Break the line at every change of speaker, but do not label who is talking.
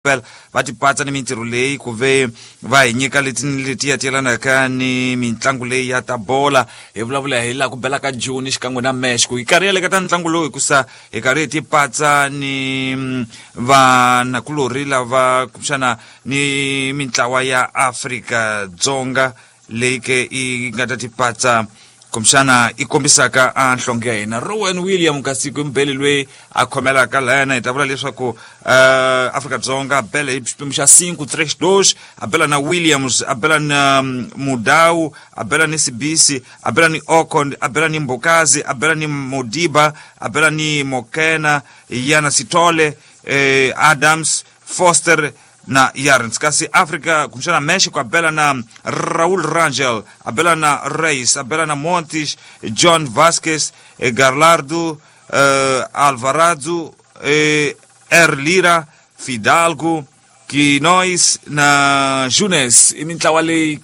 Phela va tipatsa ni mintirho leyi ku ve va hi nyika leti ni letiya ti yelanaka ni mitlangu leyi ya ta bola. Hi vulavula hi laha ku bela ka Joni xikan'we na Mexico. Hi karhi yale ka ta ntlangu lowu hikusa hi karhi hi tipatsa ni vanakulorhi lava kumbexana ni mintlawa ya Afrika-Dzonga leyi ke yi nga ta tipatsa kumbexana i kombisaka a nhlonge ya hina. Rowan William Kasiko mbele loyi a khomelaka layana, hi ta vula leswaku Afrika-Dzonga a bela hi xiphemu xa 5-3-2, a bela na Williams, a bela na Mudau, a bela ni Sibisi, a bela ni Okon, a bela ni Mbokazi, a bela ni Modiba, a bela ni Mokena, Yana Sithole, Adams, Foster na Yarns. Kasi Africa kumbexana Mexico a bela na Raul Rangel, a bela na Reis, a bela na Montes, John Vasquez, Garlardo, Alvarado, Erlira, Fidalgo, Quinois na Junes. I mintlawa leyi.